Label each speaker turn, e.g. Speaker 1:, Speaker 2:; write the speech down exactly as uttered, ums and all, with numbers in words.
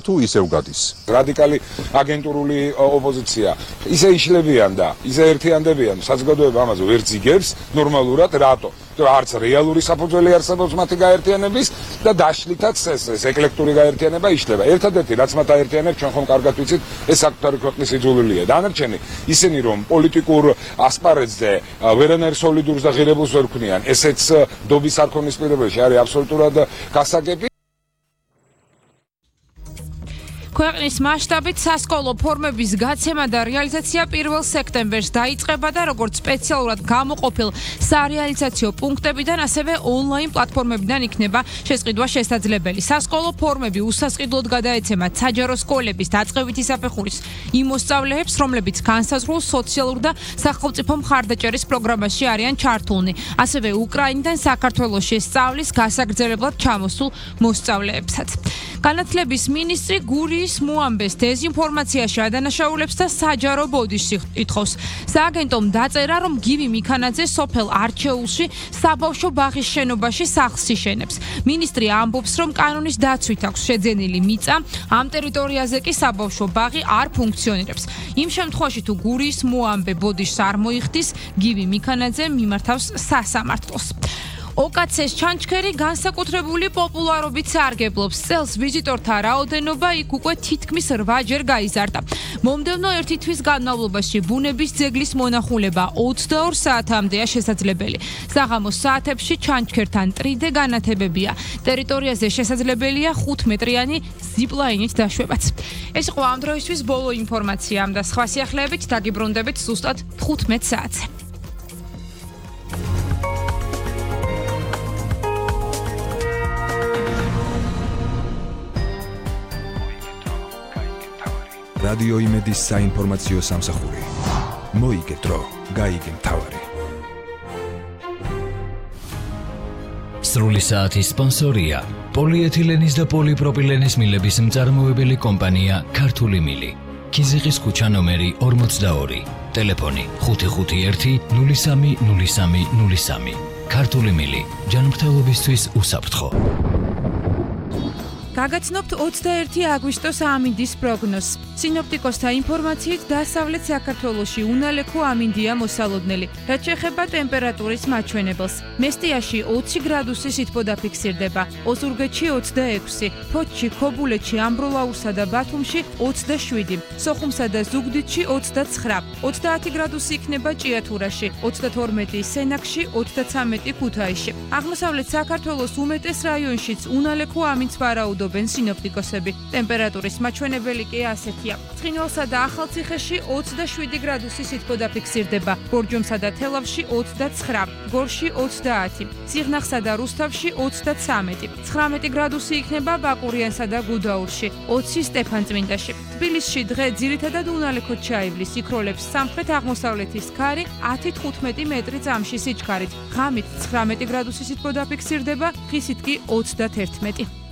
Speaker 1: თუ ისევ გადის.
Speaker 2: რადიკალი აგენტურული ოპოზიცია ისე იშლებიან და ისე ერთიანდებიან, საზოგადოება ამაზე ვერ ძიგებს ნორმალურად, რატო? არც რეალური საფუძველი არსებობს მათი გაერთიანების და დაშლითაც ეს ეკლექტური გაერთიანება იშლება. ერთადერთი რაც მათ აერთიანებს, ჩვენ ხომ კარგად ვიცით, ეს საკუთარი ქვეყნის იძულულია. დანარჩენი ისინი რომ პოლიტიკურ ასპარეზზე ვერანაირ სოლიდურს და ღირებულს ვერ ქმნიან, ესეც დობის არქონის პირობებში არის აბსოლუტურად გასაგები.
Speaker 3: ქვეყნის მასშტაბით სასკოლო ფორმების გაცემა და რეალიზაცია პირველ სექტემბერს დაიწყება და როგორც სპეციალურად გამოყოფილ სარეალიზაციო პუნქტებიდან, ასევე ონლაინ პლატფორმებიდან იქნება შესყიდვა შესაძლებელი. სასკოლო ფორმები უსასყიდლოდ გადაეცემათ საჯარო სკოლების დაწყებითი საფეხურის იმ მოსწავლეებს, რომლებიც განსაზღვრულ სოციალურ და სახელმწიფო მხარდაჭერის პროგრამაში არიან ჩართულნი, ასევე უკრაინიდან საქართველოში სწავლის გასაგრძელებლად ჩამოსულ მოსწავლეებსაც. განათლების მინისტრი გურიის მოამბეს დეზინფორმაციაში ადანაშაულებს და საჯარო ბოდიშს ითხოვს. სააგენტომ დაწერა, რომ გივი მიქანაძე სოფელ არჩეულში საბავშვო ბაღის შენობაში სახლს იშენებს. მინისტრი ამბობს, რომ კანონის დაცვით აქვს შეძენილი მიწა, ამ ტერიტორიაზე კი საბავშვო ბაღი არ ფუნქციონირებს. იმ შემთხვევაში თუ გურიის მოამბე ბოდიშს არ მოიხდის, გივი მიქანაძე მიმართავს სასამართლოს. ოკაცეს ჩანჩქერი განსაკუთრებული პოპულარობით სარგებლობს. წელს ვიზიტორთა რაოდენობა იქ უკვე თითქმის რვაჯერ გაიზარდა. მომდევნო ერთი თვის განმავლობაში ბუნების ძეგლის მონახულება ოცდაორ საათამდეა შესაძლებელი. საღამოს საათებში ჩანჩქერთან ტრიდე განათებებია. ტერიტორიაზე შესაძლებელია ხუთმეტრიანი ზიპლაინით დაშვებაც. ეს იყო ამ დროისთვის ბოლო ინფორმაცია და სხვა სიახლეებით დაგიბრუნდებით ზუსტად თხუთმეტ საათზე.
Speaker 4: რადიო იმედის საინფორმაციო სამსახური. მოიგე დრო, გაიგე მთავარი.
Speaker 5: სრული საათის სპონსორია პოლიეთილენის და პოლიპროპილენის მილების მწარმოებელი კომპანია ქართული მილი. ქიზიყის ქუჩა ნომერი ორმოცდაორი. ტელეფონი ხუთი ხუთი ერთი ნული სამი ნული სამი ნული სამი. ქართული მილი, ჯანმრთელობისთვის უსაფრთხო.
Speaker 3: გაგაცნობთ ოცდაერთი აგვისტოს ამინდის პროგნოზს. სინოპტიკოსთა ინფორმაციით დასავლეთ საქართველოში უნალექო ამინდია მოსალოდნელი, რაც შეეხება ტემპერატურის მაჩვენებელს. მესტიაში ოცი გრადუსი სითბო დაფიქსირდება, ოზურგეთში ოცდაექვსი, ფოთში, ქობულეთში, ამბროლაურსა და ბათუმში ოცდაშვიდი, სოხუმსა და ზუგდიდში ოცდაცხრა, ოცდაათი გრადუსი იქნება ჭიათურაში, ოცდათორმეტი სენაკში, ოცდაცამეტი ქუთაისში. აღმოსავლეთ საქართველოს უმეტეს რაიონშიც უნალექო ამინდს ვარაუდობენ სინოპტიკოსები. ტემპერატურის მაჩვენებელი კი ასეთია. ცხინვალსა და ახალციხეში ოცდაშვიდი გრადუსი სითბო დაფიქსირდება, ბორჯომსა და თელავში ოცდაცხრა, გორში ოცდაათი, სიღნაღსა და რუსთავში ოცდაცამეტი, ცხრამეტი გრადუსი იქნება ბაკურიანსა და გუდაურში, ოცი სტეფანწმინდაში. თბილისში დღე ძირითადად უნალექოდ ჩაივლის, იქროლებს სამხრეთ აღმოსავლეთის ქარი ათი თხუთმეტი მეტრი წამში სიჩქარით, ღამით ცხრამეტი გრადუსი სითბო დაფიქსირდება, ხისით კი ოცდათერთმეტი.